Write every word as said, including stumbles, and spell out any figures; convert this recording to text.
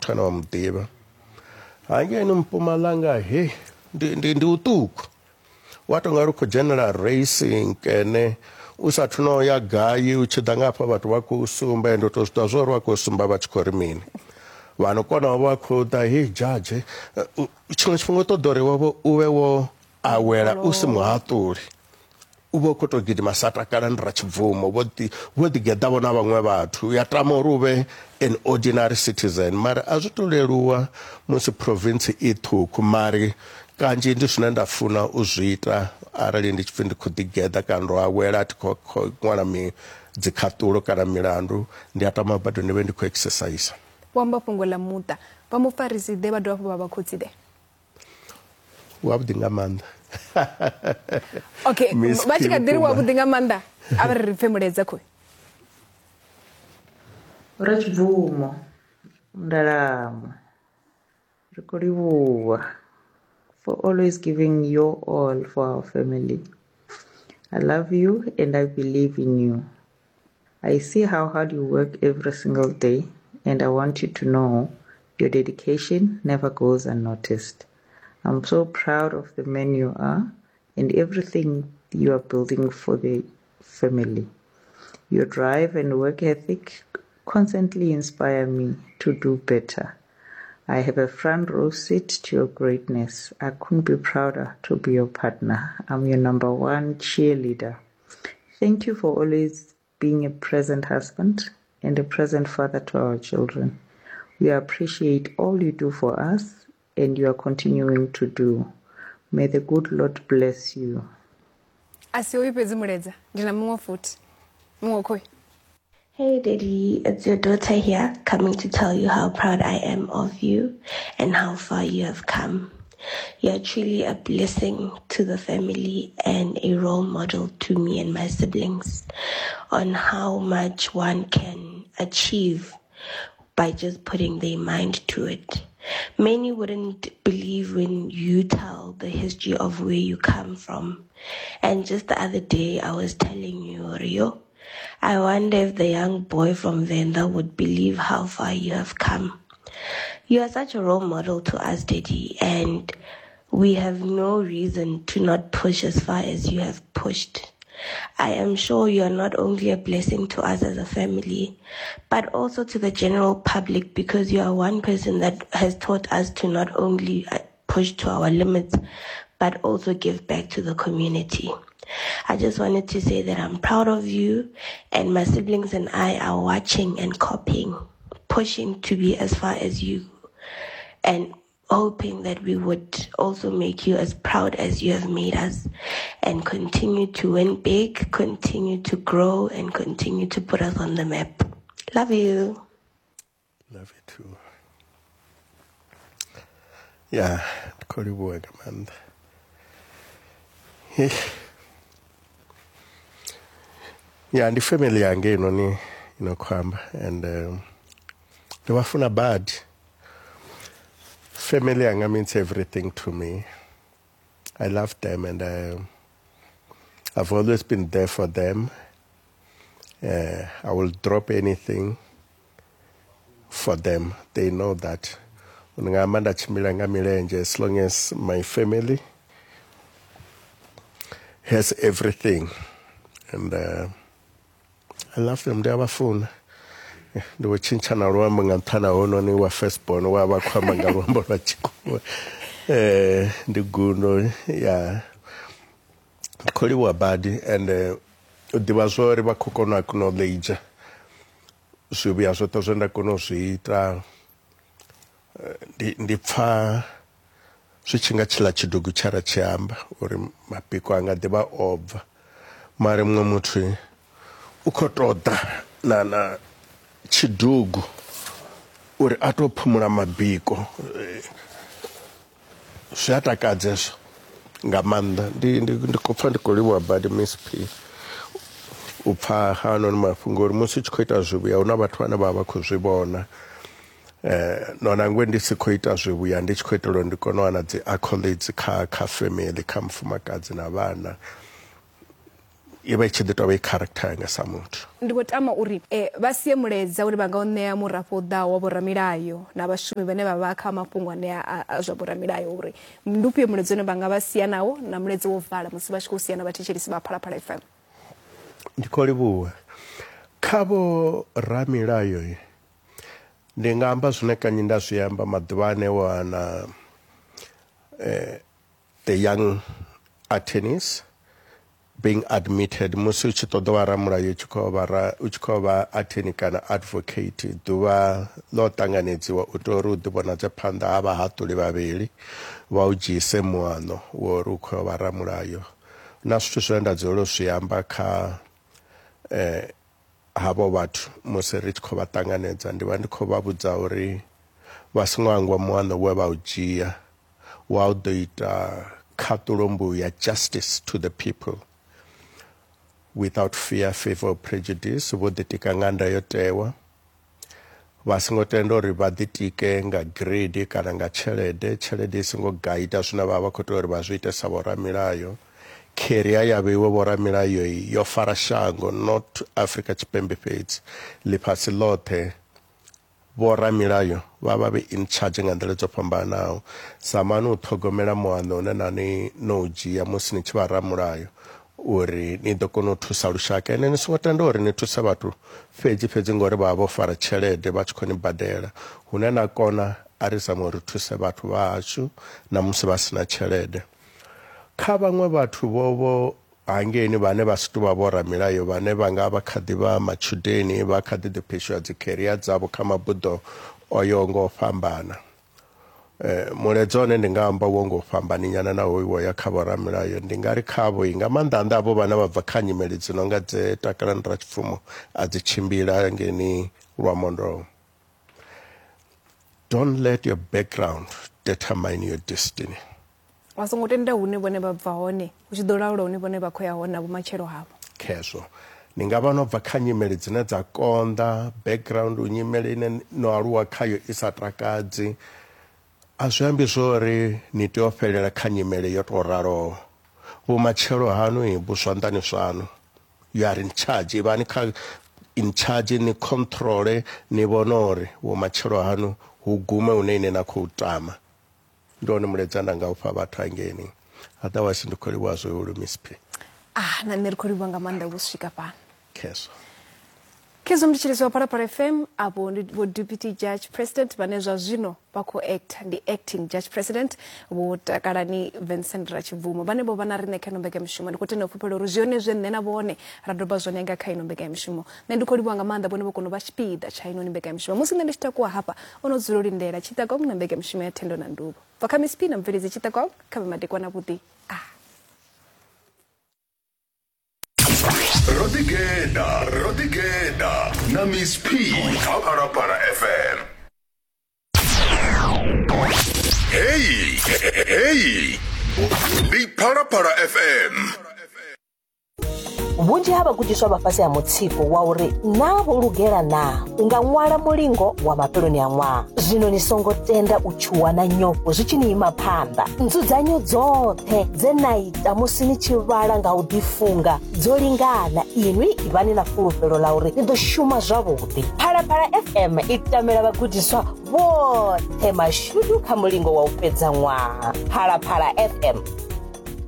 muthu ane wa mu ḓivha. Hangeini Mpumalanga he ndi ndi ndi uṱuku. Wa to nga ri khou dzhenela racing kene u sathu no ya gai u tshi ḓa nga hafha vhathu vha khou sumba ende u to zwi ḓivha zwa uri vha khou sumba vha tshi khou ri mini. Vha no kona u vha khou ḓa he judge tshiṅwe tshifhinga u ṱoḓa uri wavho u vhe wo awela u si muhaṱuli. U vha u khou tou gidima sa takala ndi Ratshibvumo vho ḓi vho ḓi geḓa vho na vhaṅwe vhathu ya tama uri u vhe an ordinary citizen mara a zwi to leluwa musi province i ṱhukhu mari kanzhi ndi zwine nda funa u zwi ita arali ndi tshi pfi ndi khou ḓi geḓa kana ndo awela a thi khou ṅwala mi dzikhaṱulo kana milandu ndi a tama bado ndi vhe ndi khou exercise. Vho amba fhungo ḽa muṱa vha mufarisi ḓe vha dovha hafhu vha vha khotsi ḓe? Wavhuḓi nga maanḓa. Okay, vha tshi kha ḓi ri wavhuḓi nga maanḓa a vha ri ri pfe mulaedza khoyu. Ratshibvumo Ndalamo, ri khou livhuwa for always giving your all for our family. I love you and I believe in you. I see how hard you work every single day, and I want you to know your dedication never goes unnoticed. I'm so proud of the man you are and everything you are building for the family. Your drive and work ethic constantly inspire me to do better. I have a front row seat to your greatness. I couldn't be prouder to be your partner. I'm your number one cheerleader. Thank you for always being a present husband and a present father to our children. We appreciate all you do for us and you are continuing to do. May the good Lord bless you. A si hoyu fhedzi mulaedza, ndi na muṅwe futhi. Muṅwe khoyu. Hey Daddy, it's your daughter here coming to tell you how proud I am of you and how far you have come. You are truly a blessing to the family and a role model to me and my siblings on how much one can achieve by just putting their mind to it. Many wouldn't believe when you tell the history of where you come from. And just the other day, I was telling you, Rio, I wonder if the young boy from Venda would believe how far you have come. You are such a role model to us, Daddy, and we have no reason to not push as far as you have pushed. I am sure you are not only a blessing to us as a family, but also to the general public, because you are one person that has taught us to not only push to our limits, but also give back to the community. I just wanted to say that I'm proud of you, and my siblings and I are watching and copying, pushing to be as far as you, and hoping that we would also make you as proud as you have made us, and continue to win big, continue to grow, and continue to put us on the map. Love you. Love you too. Yeah, ndi khou livhuwa nga maanḓa. Yeah, ndi family yanga inoni ino khou amba, and um, ndi vha funa badi. Family yanga means everything to me. I love them, and uh, I've always been there for them. Uh, I will drop anything for them. They know that. Nga amba nda tshimbila nga milenzhe, as long as my family has everything. And uh, I love them. Ndi a vha funa. Ndi vho tshintsha na luambo nga nṱhani ha hononi wa first born wa vha khou amba nga luambo lwa tshikhuwa. Eh, ndi gundo ya ndi khou livhuwa badi, and uh, u ḓivha zwa uri vha khou kona u acknowledge zwivhuya zwoṱhe zwe nda kona u zwi ita. Ndi ndi pfa zwi tshi nga tshiḽa tshidugu tsha ra tshi amba uri mabiko anga ḓivha o bva, mara muṅwe muthu u khou ṱoḓa na na tshidugu uri a to phumula mabiko. Zwi a takadza hezwo nga maanḓa. Ndi ndi ndi khou pfa ndi khou livhuwa badi Miss P u pfa haanoni mafhungo uri musi u tshi khou ita zwivhuya hu na vhathu vhane vha vha vha khou zwi vhona. Eh, no nangwe ndi si khou ita zwivhuya ndi tshi khou itela uri ndi kone u wana dzi accolades kha kha family, kha mufumakadzi na vhana. I vha i tshi ḓi tou vha i character yanga sa muthu. Ndi khou tama uri eh, vha sie mulaedza uri vha nga u ṋea murafho u ḓaho wa vhoramilayo na vhashumi vhane vha vha kha mafhungo anea a zwa vhoramilayo, uri ndi ufhio mulaedza une vha nga vha sia nawo na mulaedza wo vala musi vha tshi khou sia na vhathetshelesi vha Phalaphala F M. Ndi khou livhuwa. Kha vho ramilayo ndi nga amba zwine kanzhi nda zwi amba maḓuvha ane wana eh, the young attorneys being admitted musi u tshi ṱoḓa wa ramulayo u tshi khou vha u tshi khou vha attorney kana advocate, ḓuvha ḽo ṱanganedziwa u tea uri u ḓivhonadze phanḓa ha vhahaṱuli vhavhili vha u dzhiise muano wo uri u khou vha ramulayo. Na zwithu zwine nda dzulela u zwi amba kha eh, havho vhathu musi ri tshi khou vha ṱanganedza, ndi vha ndi khou vha vhudza uri vha songo hangwa muano we vha u dzhia wa u ḓo ita khaṱulo mbuya, justice to the people without fear, favor or prejudice. Vho ḓitika nga ndayotewa, vha songo tenda uri vha ḓitike nga grade kana nga tshelede. Tshelede i songo gaida zwine vha vha khou tea uri vha zwi ite sa vhoramilayo. Career ya vheiwe vhoramilayo yo fara shango, not Afrika Tshipembe fhedzi, ḽifhasi ḽoṱhe. Vhoramilayo vha vha vhe in charge nga nḓila dzo fhambanaho. Zamani u ṱhogomela muano une na ni no u dzhia musi ni tshi vha ramulayo uri ni ḓo kona u thusa lushaka. Ene ni songo tenda uri ni thuse vhathu fhedzi fhedzi ngori vha vha vho fara tshelede vha tshi khou ni badela. Hune na kona a ri zame uri thuse vhathu vha hashu na musi vha sina tshelede. Kha vhaṅwe vhathu vho vho hangeini vhane vha si tou vha vhoramilayo, vhane vha nga vha kha ḓi vha matshudeni, vha kha ḓi ḓi pheshuwa dzi career dzavho kha mabuḓo oyo ngo fhambana, eh, mulaedza one ndi nga amba wo ngo fhambani nyana na hoyu wo ya kha vhoramilayo. Ndi nga ri khavho nga maanḓa anḓa avho vhana vha bva kha nyimele dzi nonga dze Takalani Ratshipfumo a dzi tshimbila ngeni Lwamondo. Don't let your background determine your destiny. Vha songo tenda hune vhone vha bva hone hu tshi ḓo laula hune vhone vha khou ya hone na vhumatshelo havho. Khezwo ni nga vha no bva kha nyimele dzine dza konḓa, background nyimele ine no aluwa khayo i sa takadzi, a zwi ambi zwori ni tea u fhelela kha nyimele yo tou raloho. Vhumatshelo haṋu vhu zwanḓani zwaṋu. You are in charge. Ivhani kha in charge, ni controle, ni vhone uri vhumatshelo haṋu hu gume hune ine na khou tama. Ndi wone mulaedza nda nga u fha vhathu hangeini. Otherwise ndi khou livhuwa zwihulu Miss P. Ah, na nṋe ri khou livhuwa nga maanḓa vho swika fhano. Khezwo. Khezwo mthetshelesi wa Phalaphala F M, avho ndi vho Deputy Judge President vhane zwa zwino vha khou act, ndi acting Judge President Vho Takalani Vincent Ratshibvumo, vhane vho vha na riṋe kha ino mbekanyamushumo. Ndi khou tenda u fhulufhela uri zwone zwe nṋe na vhone ra doba zwone nga kha ino mbekanyamushumo. Nṋe ndi khou livhuwa nga maanḓa vhone vho kona u vha tshipiḓa tsha ino mbekanyamushumo. Musi nṋe ndi tshi takuwa hafha, o no dzula u lindela Tshiṱakong na mbekanyamushumo ya Thendo na Nduvho. Bva kha Miss P na mubveledzi Tshiṱakong, kha vhe madekwana vhuḓi. Ah. Rodigeda, Rodigeda, na Miss P, kha Phalaphala F M. Hey, hey, ndi Phalaphala F M. Vhunzhi ha vhagudiswa vha fhasi ha mutsiko wa uri naa vho lugela naa u nga ṅwala mulingo wa mafheloni a ṅwaha. Zwino ni songo tenda u tshuwa na nyofho zwi tshi ni ima phanḓa. Nzudzanyo dzoṱhe dze na ita musi ni tshi vhala nga u ḓifunga dzo lingana. Inwi ivhani na fulufhelo ḽa uri ni ḓo shuma zwavhuḓi. Phalaphala F M i tamela vhagudiswa vhoṱhe mashudu kha mulingo wa u fhedza ṅwaha. Phalaphala F M.